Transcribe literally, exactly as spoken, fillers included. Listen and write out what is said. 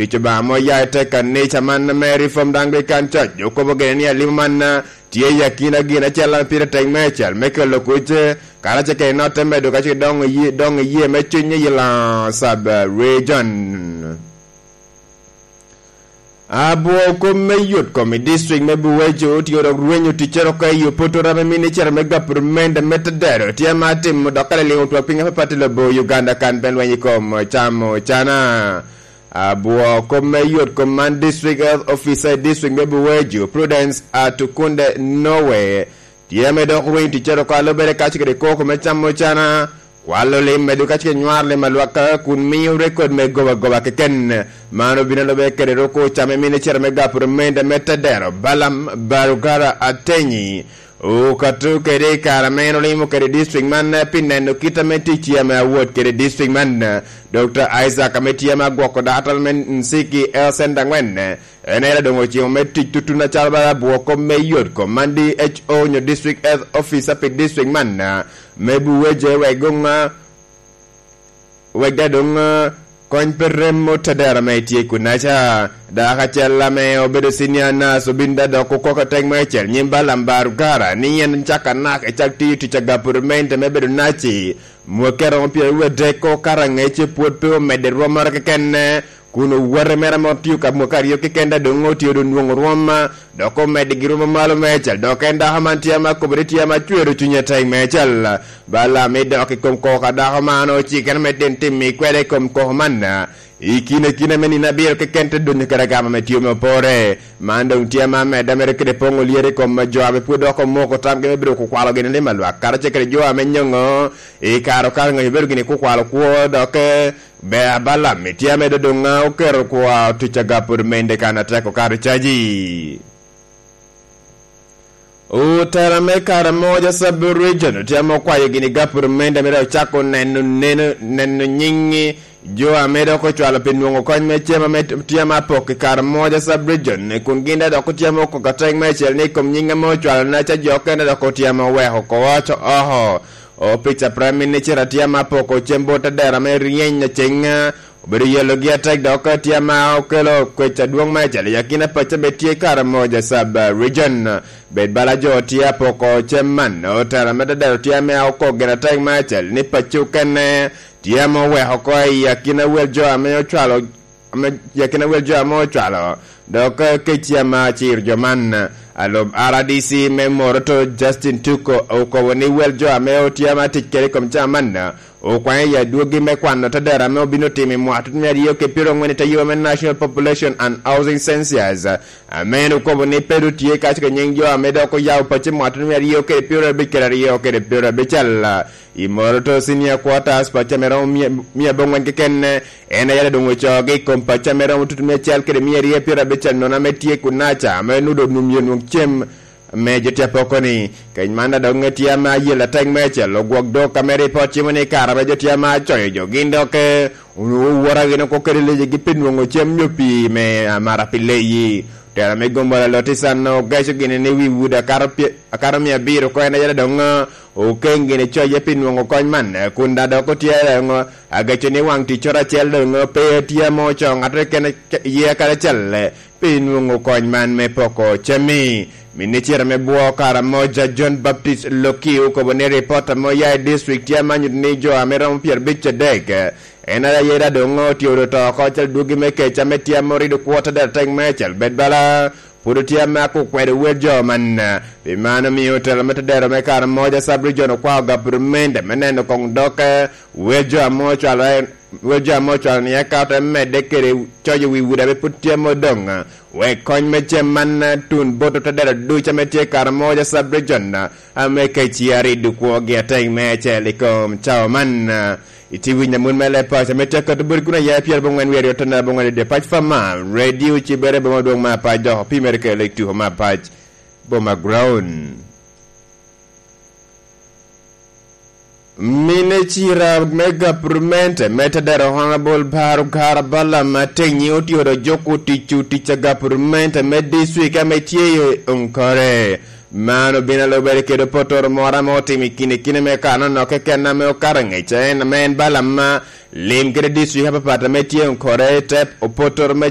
Tic Obaŋa ame oya i te kanica man me Reformed Anglican Church, okobo gire ni alimo man tye i akina gin acel ame pire tek meicel me kelo kuc, karacel kede notte medo ka ce doŋ iye, doŋ iye me cuny i Laa Sub Region. Abwoo kop me yot kom i district me Buwejo otye dok rwenyo ticcere oko i opotoro ame minicita me gapurumende me Tedero tye ma timo dok ka liliŋo twak piny apapat i lobo Uganda kan pen lweny i kom camo cana. Abwoo kop me yot kom man, District Health Officer i district me Buwejo, Prudence Atukunde Nowe, tye ame dok rwenyo ticcere oko a lubere kaco kede koko me camo cana, kwalo lim medo kaco kede nywaro lim alwaka kun miyo rekod me goba goba keken. Man obino lube kede roko cam i minicita me gapurumende me Tedero, Balaam Barugara Atenyi, okato kede i kare ame en olimo kede district man, eh, pi neno kit ame tic tye ame awot kede district man, eh, Doctor Isaac ame tye ame agwoko data me Nsiki Health Center angwen, eh, en aye doŋ ocimo me tic tutun acalo bala abwoo kop me yot kom man, D H O nyo District Health Officer pi district man, eh, me Buweje wek goŋ, eh, wek da doŋ, eh, kony pe remo Tedero ame tye kunaca. Dako acel ame obedo senior nurse obin da dok okoko atek meicel nyim Balaam Barugara ni en cak anak i cak tiyo tic a gapurumende me bedo naci. Mwakki aromo pyeraryo adek oko kara ŋece pwod pe omedde rwommoro kekenne, kun owote mere ame otiyo ka mwaka aryo keken da doŋ otye doŋ nwoŋo rwom, dok omedde gi rwom malo meicel, dok en dako man tye ame akobo ni tye ame acwero cunye atek meicel. Balaam i dok i kom koko a dako man ocikere me tin tim i kwede i kom koko man, i kine kine me nino abiro keken te donyo kede agama me tio me opore. Man doŋ tye ame amedde mere kede poŋo lyere i kom jo ame pwod dok omoko tamgi me bedo kukwalo gini lim a lwak, karacel kede jo ame nyoŋo i kare okato ŋec obedo gini kukwalo kwo, dok, eh, ber a Balaam tye ame doŋ oketo kwo tic a gapurumende kan atek okato caji. Otela me Karamoja Sub Region otye ame okwayo gini gapurumende mere ocako neno, neno, neno nyiŋ jo ame dok ocwalo pi nwoŋo kony me cem ame tye ame apok i Karamoja Sub Region, kun gin daŋ dok otye ame okoko atek meicel ni i kom nyiŋ ame ocwalo naca jo okene dok otye ame oweko oko oco oko. Opic a Prime Minister atye ame apoko cem bot adera me ryeny aceŋ, obedo yelogi atek dok tye ame okelo kwec adwoŋ meicel i akina pacci ame tye Karamoja Sub Region. Bed bala jo tye apoko cem man, otela me Tedero tye ame okok gin atek meicel ni pacci okene tye ame oweko oko i akina wel jo ame ocwalo, ame, i akina wel jo ame ocwalo, dok, eh, kec tye ame aciro jo man. Alub R D C me Moroto, Justin Tuko, okobo ni wel jo ame otye ame atic kede i kom caa man, okwaŋe i adwogi me kwano Tedero ame obino timo i mwaka tut mia aryo kede pyeraryo angwen i te yub me National Population and Housing Census, ame en okobo ni pe doŋ tye kaco ka nyiŋ jo ame dok oyabo pacci mwaka tut mia aryo kede pyeraryo abic kede aryo kede pyeraryo abicel. I Moroto Senior Quarters, pacci ame romo mia, mia aboŋwen keken, en aye doŋ ocoogi i kom pacci ame romo tutu mia acel kede mia aryo pyerabicel nono ame tye kunaca, ame nudo onum yo nwoŋ cem me jo tye apoko ni. Kec man adok ŋe tye ame ayel atek meicel, ogwok dok ame ripot cimo ni kare ame jo tye ame acoyo jo gin dok, eh, owora gin oko kede lecegi pi nwoŋo cem nyo pii me amara pi leyi. Otela me Gombala Loti San ogeco gini ni wi udi akato pye-, akato mia abiro oko en aye doŋ, eh, okeŋ gini coye pi nwoŋo kony man, eh, kun daŋ dok otye doŋ, eh, ageco ni waŋ ticcoro acel doŋ, eh, pe tye ame ocoo ŋattoro keken ye kadi acel, eh, pi nwoŋo kony man me poko cem-mi. Minicita me bwo Karamoja John Baptist Loki okobo ni ripot ame oya i district tye ame nyuto ni jo ame romo pyerabic adek, eh, en aye daŋ doŋ otye odo to oko acel dwogi me kec ame tye ame orido kwo Tedero atek meicel bed bala pwod otye ame akukwedo wel jo man. Pi man omio otela me Tedero me Karamoja Sub Region okwao gabrimende me neno koŋ dok, eh, wel jo ame ocwalo en, wel jo ame ocwalo ni eka te medde kede coyo wi udi ame pwod tye ame odoŋ, eh, wek kony me cem man, eh, tun bot Tedero ducu ame tye Karamoja Sub Region, eh, ame kec ariddo kwogi atek meicel i kom cawa man, eh, Itye winyo amut me leb paco ame tye akato boti kun aya i pyerabongwen wie aryo tonnere abongwen i dye pac pa man, Radio Cibere boma dwong me apac dok opimere kede lek tuko me apac boma ground. Minicita me gabrimenti me Tedero Honorable Barugara Balaam Atenyi otye odo juko tic otic a gabrimenti me district ame tye i Onkore. Man obino alubere kede opotoro moro ame otimo i kine kine me kano nok keken ame okato angec, en ame en Balaam lim kede district apapat ame tye Onkore, te opotoro me